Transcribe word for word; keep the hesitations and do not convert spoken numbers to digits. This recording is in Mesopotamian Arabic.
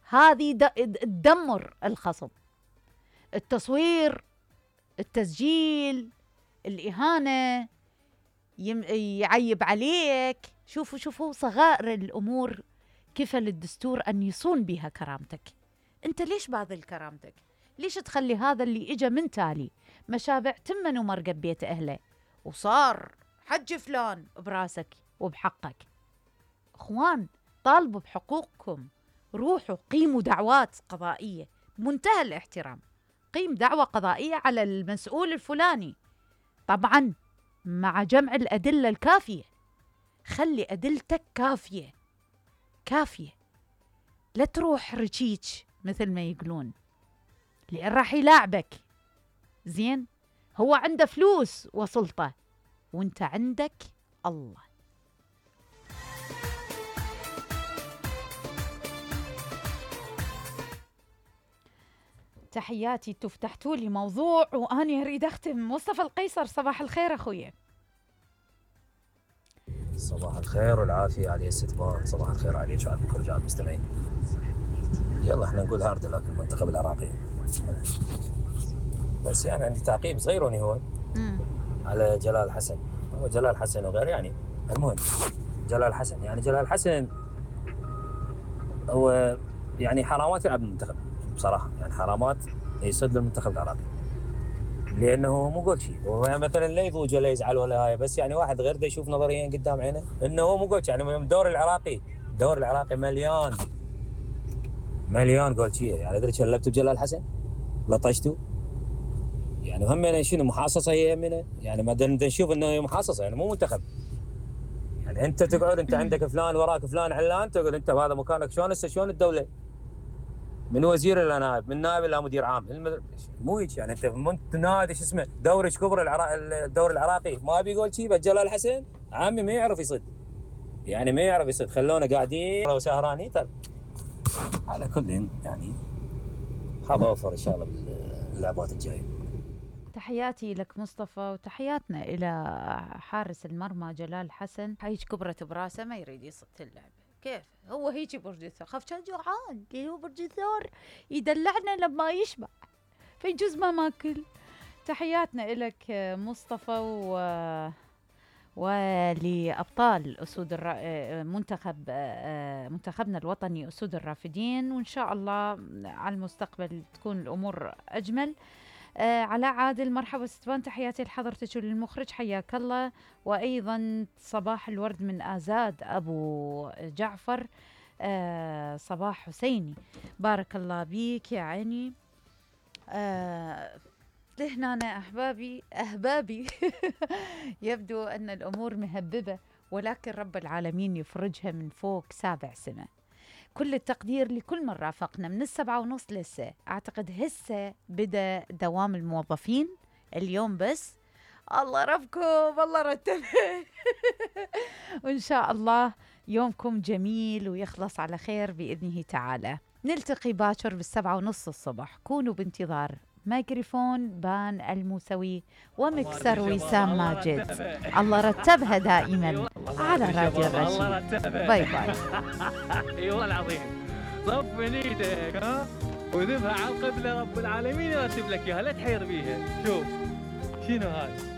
هذه تدمر الخصم. التصوير، التسجيل، الإهانة، يعيب عليك. شوفوا شوفوا صغائر الأمور كيف للدستور أن يصون بها كرامتك. أنت ليش باذل كرامتك؟ ليش تخلي هذا اللي إجا من تالي مشابع تمن ومرقب بيت أهله وصار حج فلان براسك وبحقك؟ أخوان، طالبوا بحقوقكم، روحوا قيموا دعوات قضائية منتهى الاحترام. قيم دعوة قضائية على المسؤول الفلاني، طبعا مع جمع الأدلة الكافية. خلي أدلتك كافية كافية، لا تروح رشيج مثل ما يقولون، لأن راح يلاعبك. زين، هو عنده فلوس وسلطة وانت عندك الله. تحياتي. تفتحتوا لي موضوع وأنا أريد أختم. مصطفى القيصر، صباح الخير أخويا. صباح الخير والعافية علي الستبان. صباح الخير عليك وعلى كل رجال المستمعين. يلا احنا نقول هارد لك المنتخب العراقي، بس يعني عندي تعقيب صغير وني هو مم. على جلال حسن. هو جلال حسن وغير، يعني المهم جلال حسن، يعني جلال حسن هو يعني حرامات يلعب المنتخب بصراحة، يعني حرامات يصد المنتخب العراقي، لانه مو قول شيء. هو يعني مثلا لا يضوج ولا يزعل ولا هاي، بس يعني واحد غير ده يشوف نظريا قدام عينه انه هو مو قول شيء. يعني الدوري العراقي الدوري العراقي مليان مليان قول شيء. يعني ادري شلبتوا بجلال حسن، لطشتوا، يعني همنا شنو محاصصه هي همنا، يعني ما نشوف انه هي محاصصه، يعني مو منتخب. يعني انت تقعد، انت عندك فلان وراك فلان علان، تقعد انت بهذا مكانك. شلون هسه شلون الدوله؟ من وزير الى نائب، من نائب الى مدير عام، مو هيك. يعني انت منت نادي شو اسمه دوري كبر العراق، الدوري العراقي ما بيقول شيء. جلال حسن عمي ما يعرف يصد، يعني ما يعرف يصد، خلونا قاعدين وسهرانين. طيب على كل يعني حاب اوفر ان شاء الله باللعبات الجايه. تحياتي لك مصطفى، وتحياتنا إلى حارس المرمى جلال حسن. هيج كبرت براسه ما يريد يصد اللعبة. كيف هو هيجي برج الثور؟ خاف كان جوعان، هو برج الثور يدلعنا لما يشبع، فيجوز ما ماكل. تحياتنا إلك مصطفى، و ولأبطال أسود الرا... منتخب منتخبنا الوطني أسود الرافدين، وإن شاء الله على المستقبل تكون الأمور أجمل. آه علاء عادل، مرحبا ستبان، تحياتي لحضرتك وللمخرج، حياك الله. وأيضا صباح الورد من آزاد أبو جعفر. آه صباح حسيني، بارك الله بيك يا عيني. آه لهنا أنا أحبابي أحبابي يبدو أن الأمور مهببة، ولكن رب العالمين يفرجها من فوق سابع سنة. كل التقدير لكل من رافقنا من السبعة ونص لسه. أعتقد هسه بدأ دوام الموظفين اليوم، بس الله ربكم الله رتبه وإن شاء الله يومكم جميل ويخلص على خير بإذنه تعالى. نلتقي باكر بالسبعة ونص الصبح. كونوا بانتظار ميكروفون بان الموسوي ومكسر وسام ماجد. الله رتبها دائما على راديو الرشيد. باي باي. اي والله العظيم، صف من ايدك ها وذبها على القبله، رب العالمين يرتب لك اياها، لا تحير بيها. شوف شنو هذا.